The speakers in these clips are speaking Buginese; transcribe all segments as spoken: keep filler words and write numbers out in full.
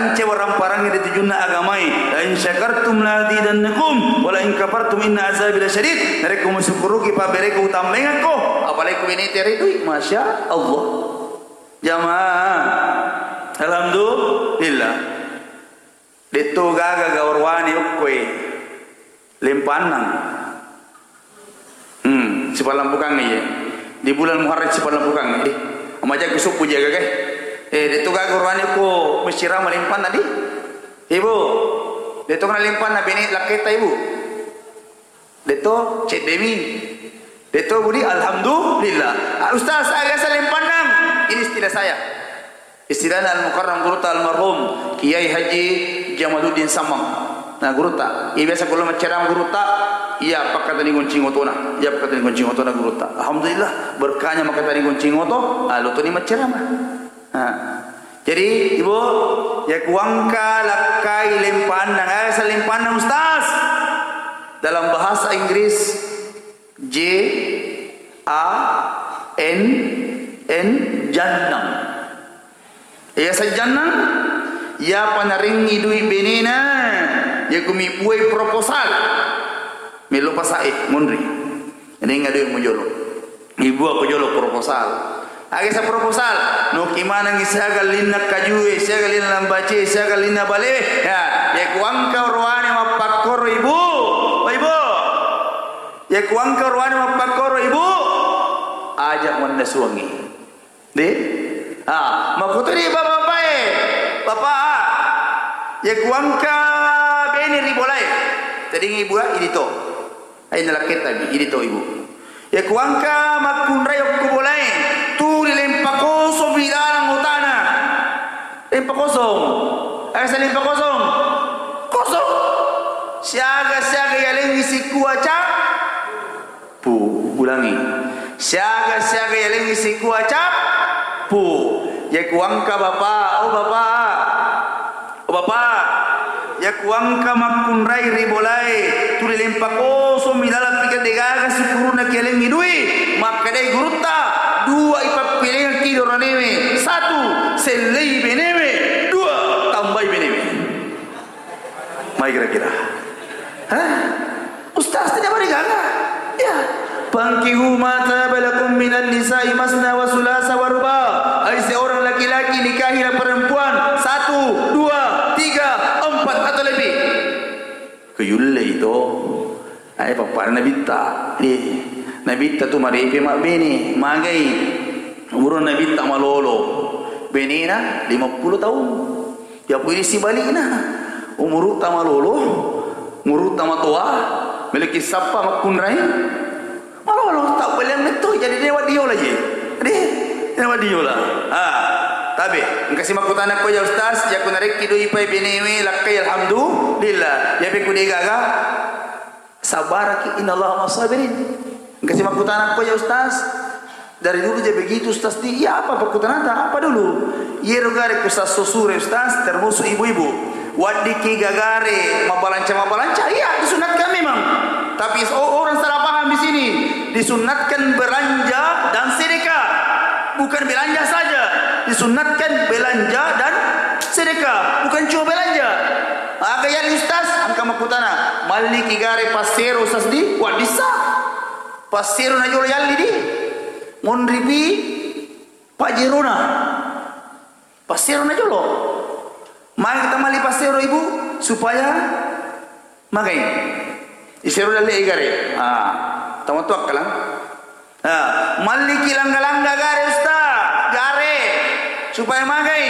Ance waramparangnge ri tujunna agamae, "La in syakartum la azidannakum, wa la in kafartum inna azabi lasyadid." Narekko musukkuruki pabberekku, utambaengekko, apalagi ku bene terei dui, Masya Allah. Jamaah, alhamdulillah. Detto gaga gaurwane okkoe lempannang. Hmm, sipallampukangnge iye. Di bulan Muharram sipallampukangnge. Eh, amaja ku suppu jaga ke. Eh, detto gaga gaurwane ko mesirama lempanna di. Ibu, detto kana lempanna bene lakketta ibu. Detto ceddemi. Detto budi alhamdulillah. Ah, Ustaz, saya biasa lempannang. Ini istilah saya. Istilahna Al-Mukarram gurutta almarhum Kiai Haji Jamaluddin Samang. Nah, gurutta. Iya biasa kalau maccarama gurutta, iya pakkatani goncing otona. Iya pakkatani goncing otona gurutta. Alhamdulillah, berkahnya makkatani goncing oto, ah, lotoni maccarama. Nah. Jadi, Ibu, ya kuangka lakkai lempanna, nggak ada lempanna Ustaz. Dalam bahasa Inggris, J A N N, jannang. Iya sajjannang, ya panarengi dui benena, ya kumi buai proposal. Melo pasae, munri. Ini ngadui mujolo. Ibu aku jolo proposal. Age sa proposal, noki manengi siaga linna kajue, siaga linna lambace, siaga linna bale. Ya, ya kuangka roane mappakkoro ibu. Oh, ibu. Ya kuangka roane mappakkoro ibu. Aja manna suangi. De? Ah, makuturi bapak-bapak e. Bapak, ya kuangka bene ri bolae. Tadingi ibu, ah, idi to. Ai nalakkettabi, idi to ibu. Ya kuangka makkunrai okko bolae, tuli lempa kosong ri lalang otana. Lempa kosong. Aga sa lempa kosong? Kosong. Siaga-siaga yalengngi sikua ca-, pu, ulangi. Siaga-siaga yalengngi sikua ca-, pu. Ya kuangka bapak, oh bapak. Oh, Bapak, ya kuangka makkunrai ri bolae, tuli lempa kosong mi laleng pika degaga sukkuruna kialengngi dui, makkedai gurutta, dua ipappilengekki doranewe, satu, sellei benewe, dua, tambai benewe. Mai kira-kira. Hah? Ustaz, tidak berikan? Ya. Fankihu ma taba lakum minan nisa'i masna wa sulasa wa ruba. Hai seorang laki-laki, nikahilah perempuan satu, dua, tiga, empat atau lebih. Kuyulle itu. Ai pappada nabitta. Eh, nabitta tu marepe mabbene, magai. Umur nabitta malolo. Benena lima puluh tahun. Ya pui sibalikna, umurutta malolo, umurutta matoa, meleki sappa makkunrai, malolo, tabbaliang metto, jadi dewa diola je. De, dewa diola. Ah, tabe, engka si makkutana ko ya Ustaz, ya ku narekki dui pai benewe, lakkai alhamdulillah. Ya pe ku degaga, Sabaraki, innallaha ma'as sabirin. Engka si makkutana ko ya Ustaz. Dari dulu je begitu Ustaz di, iya apa pakkutanata? Apa dulu? Iyero gare ku sasso sure Ustaz, termasuk ibu-ibu. Waddiki gagare mabalanca-mabalanca, iya disunatkan memang. Tapi o-, orang salah paham di sini. Disunatkan belanja dan sedekah. Bukan belanja saja. Disunatkan belanja dan sedekah. Bukan cuma belanja. Aga yalli Ustaz, engka makkutana, malliki gare passero Ustaz di, waddissa. Passero na jolo yalli di. Monripi pajjerona. Passero na jolo. Magi kita malli passero ibu, supaya magai. Isero dalle gare. Ah, tama tu akkalang. Ah, malliki langga-langga gare Ustaz, gare. Supaya magai.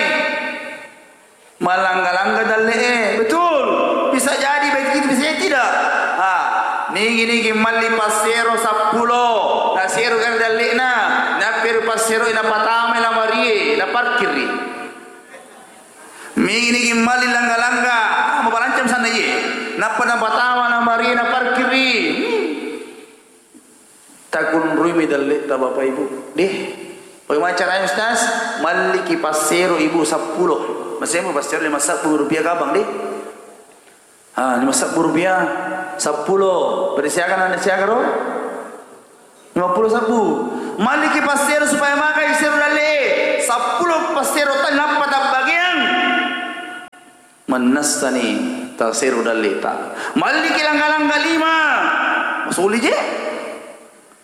Malangga-langga dalle'e, betul. Bisa jadi begitu, bisa jadi tidak. Ha, nigi-nigi malli passero seppulo, nasero gare dalle'na, napperu passero napatamai lamarie, naparkirri. Nigi-nigi malli langga-langga, ah, mapalancam sanna iye. Nappa napatama lamarie, naparkirri. Takunruimi dalle'ta Bapak Ibu. Deh. Bagaimana caranya Ustaz? Malliki passero ibu seppulo. Masih mau passero lima sebbu rupiah kabang deh. Ah, lima sebbu rupiah. Seppulo. Berisiakan anda siaga ro? Lima puluh sebbu. Malliki passero supaya makai sero dalle. Seppulo passero tali nappa tabbagiang. Mannassani tasero dalleta. Malliki langga-langga lima. Masuli je.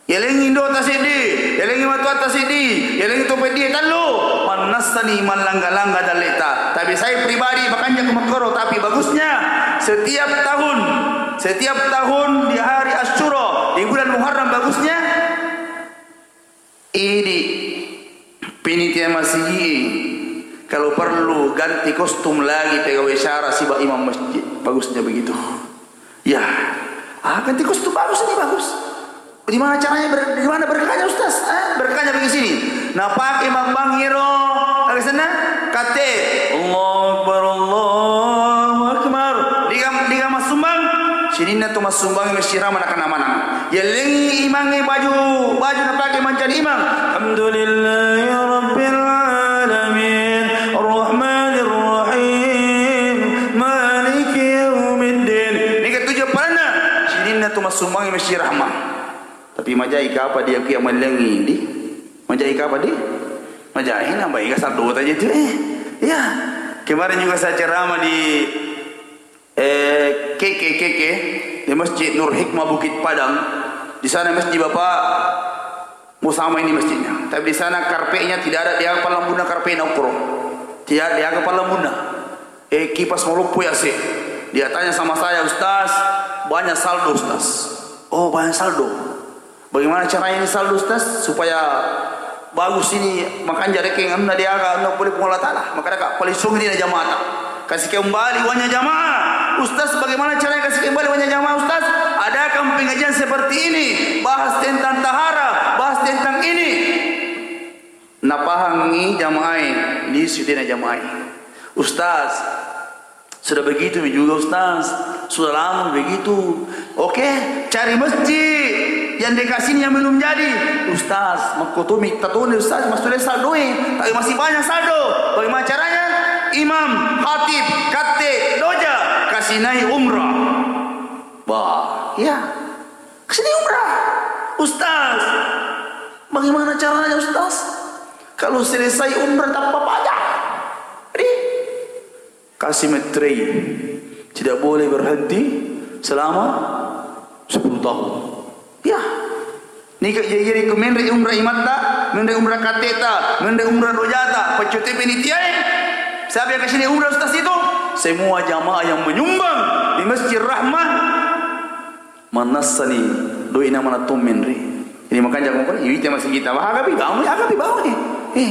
Yalengi indo'ta seddi, yalengi matuatta seddi, yalengi to peddie tellu. Mannassani mallangga-langga dalleta. Tapi saya pribadi makanja ku makkoro, tapi bagusnya setiap tahun, setiap tahun di hari Asyura, di bulan Muharram bagusnya idi penitia masigi, kalau perlu ganti kostum lagi pegawai syara siba imam masjid. Bagusnya begitu. Ya, ah, ganti kostum bagus ini, bagus. Di mana caranya ber-, di mana berkahnya, Ustaz? Eh, berkahnya begini sini. Nah, pakai mambang iro, aga senna? Kate. Allahu Akbar, Allahu Akbar. Diga, diga massumbang. Sininna tu massumbang masjid mana kena mana. Yellengi imangnge baju, baju napake mancaji imang. Alhamdulillahi rabbil alamin, arrahmanir rahim, maliki yaumiddin. Nega tuju paranna, sininna tu massumbang masjid rahmah. Tapi majai kapa dia kia mellengi di? Majai kapa di? Majai na baik asal dua aja tu eh. Ya. Kemarin juga saya ceramah di Eh, Keke, Keke, di Masjid Nur Hikmah Bukit Padang. Di sana masjid Bapak mau sama ini masjidnya. Tapi di sana karpetnya tidak ada, dia palambuna karpetnya ukro. Tidak ada, dia palambuna. Eh, kipas maloppo ya sih. Dia tanya sama saya, "Ustaz, banyak saldo, Ustaz." "Oh, banyak saldo." Bagaimana caranya ini saldo, Ustaz, supaya bagus ini, makanja rekeng anunna diaga, anunna pole Puang Allah Ta'ala. Maka daka, paling sungi dina jamaata. Kasih kembali uangnya jamaah. Ustaz, bagaimana caranya kasih kembali uangnya jamaah, Ustaz? Adakan pengajian seperti ini. Bahas tentang tahara, bahas tentang ini. Napahangngi jamaah, lisu dina jamaah. Ustaz, sudah begitu mi juga, Ustaz. Sudah lama begitu. Oke, cari masjid yang dekat sini yang belum jadi. Ustaz, makkutumi tatuni, Ustaz, masih ada saldo, eh. Tapi masih banyak saldo. Bagaimana caranya? Imam, khatib, katte, doja, kasih naik umrah. Bah, ya. Kasih naik umrah. Ustaz, bagaimana caranya, Ustaz? Kalau selesai umrah tanpa pajak. Jadi, kasih metrei. Tidak boleh berhenti selama sepuluh tahun. Ya. Nika jadi ku menre umrah imatta, menre umrah kateta, menre umrah rojata, peccote penitiae. Siapa yang kasih umrah, Ustaz, itu? Semua jamaah yang menyumbang di Masjid Rahmah. Mannassani doi namana to menre. Ini makanja ko, iwita masigi kita. Wah, agapi bangun, agapi bangun eh. Eh,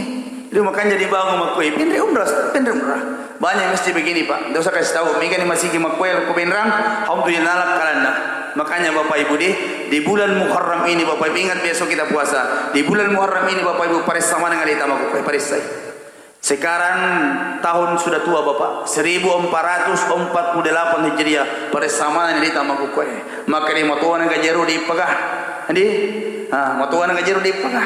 itu makanja dibangun makko, eh, penre umrah, penre umrah. Banyak masjid begini, Pak. Nggak usah kasih tahu. Mega ni masigi makko, eh, ko Penrang. Alhamdulillah, kalanna. Makanya Bapak Ibu deh, di bulan Muharram ini, Bapak Ibu, ingat besok kita puasa. Di bulan Muharram ini, Bapak Ibu, paressa maneng aleta makko, eh, paressai. Sekarang tahun sudah tua, Bapak, seribu empat ratus empat puluh delapan Hijriah, paressa maneng aleta makkukkue. Maka de matoana gajero dippaga. Andi? Ah, matoana gajero dippaga.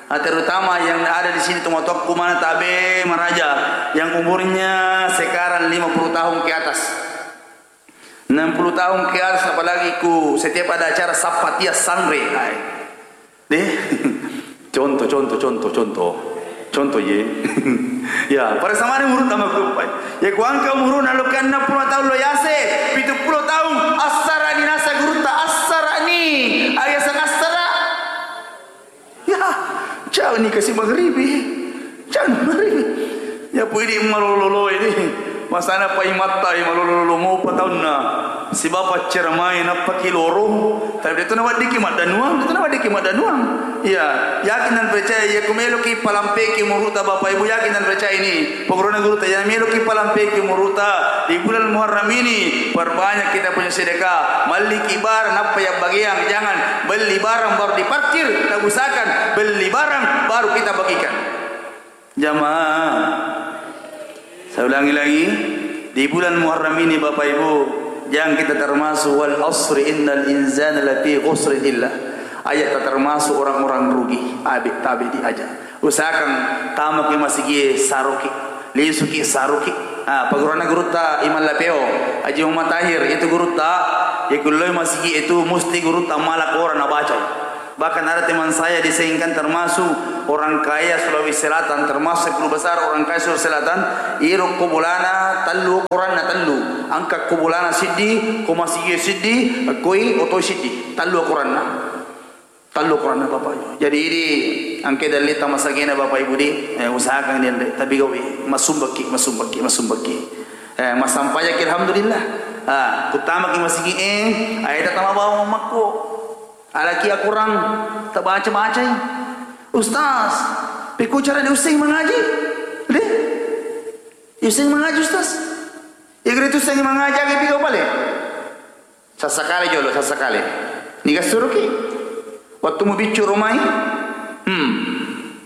Ah, terutama yang ada di sini, tomatoakku mana tabe maraja, yang umurnya sekarang lima puluh tahun ke atas. Enam puluh tahun ke atas, apalagi ku setiap ada acara sappatia sanre. Hai. Deh. Contoh, contoh, contoh, contoh. Contoh ye. Ya, pada samani umurutta makkupai. Ya, kuangka umuruna lo ke enam puluh tahun lo yase, pitu puluh tahun, assarani nasa gurutta, assarani. Ayasang assara. Ya, jauh ni kasi maghribi. Jauh ni maghribi. Ya, pui di malolo-lolo ini. Masana pa imatta, eh, malolo-lolo mopa taunna. Sibawa paccermai nappaki loro. Tapi detu naweddiki maddanuang, detu naweddiki maddanuang. Iya, yakin dan percaya, iya ku meloki palampeki umuruta Bapak Ibu, yakin dan percaya ini. Pogorona guruta, iya meloki palampeki umuruta di bulan Muharram ini, perbanyak kita punya sedekah. Malliki barang, nappa yabbagiang, jangan beli barang baru diparkir, tak usahakan beli barang baru kita bagikan. Jamaah, saya ulangi lagi, di bulan Muharram ini, Bapak Ibu, jangan kita termasuk, "Wal asri innal insana lafi khusr," illa. Aja' tak termasuk orang-orang rugi. Abe' tabe' di aja'. Usahakan tamaki masigi saruki, lisuki saruki. Ah, paguruna gurutta Imam Lapeo, Haji Muhammad Tahir, itu gurutta, ya kulloi masigi itu musti gurutta mala Quran nabacai. Bahkan ada teman saya di Sengkang termasuk orang kaya Sulawesi Selatan, termasuk guru besar orang kaya Sulawesi Selatan, iro ko bolana tellu, Quranna tellu. Engka ko bolana siddi, ko masigi siddi, koi otoi siddi. Tallu ukuranna. Tallu ukuranna, Bapak Ibu. Jadi, idi engka dalli tamasagena, Bapak Ibu, di, eh, usahakan dianre. Tapi gawi, masumbakki, masumbakki, masumbakki. Eh, masampajaki, alhamdulillah. Ah, kutamaki masigi, eh, ayata tama bawa makko. Alaki akurang, tabaca-bacai. Ustaz, pekko cara diusseng mangaji? De? Diusseng mangaji, Ustaz? Ya, kira itu usseng mangaji, agi piga bale? Sassakale jolo, sassakale. Niga suruki? Waktu mu biccu romai? Hmm.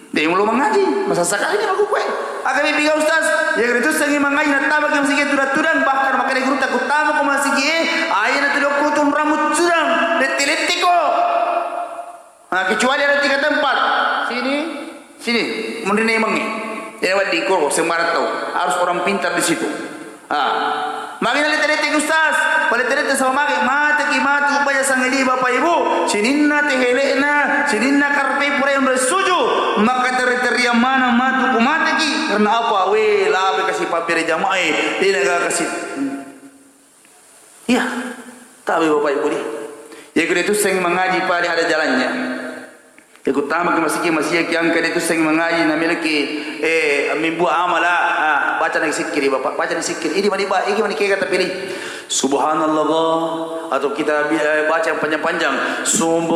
De mulo mangaji, masassakale ni makukue. Aga mi piga, Ustaz? Ya, kira itu usseng mangaji, natabaki masigi tudang-tudang, bahkan makanya guru tak utama ko masigi, eh, ayana tudang kutum rambut tudang, lette-lette ko. Nah, kecuali ada tiga tempat. Sini, sini, munrinna imangnge. Ya, wedding ko sembarang tau. Harus orang pintar di situ. Ah. Magi na lette-lette, Ustaz? Palette-lette sama magi, mateki matu baja sangedi, Bapak Ibu. Sininna tehele'na, sininna karpe pura yang bersuju. Maka teri-terian mana matu ku mateki. Karena apa? We, labe kasi pabbere jamaah, eh. Tidak kasih. Iya, tabe Bapak Ibu di. Ya, kira itu seng mengaji paling ada jalannya. Ya, ku tama ke masigi, masigi ki angka itu seng mengaji, namiliki, eh, mimbu amala, ah, baca nang sikkiri, Bapak, baca nang sikkiri. Ini mani, Pak, ini mani kega tapi pilih. Subhanallah, atau kita bi-, eh, baca yang panjang-panjang. Sumbu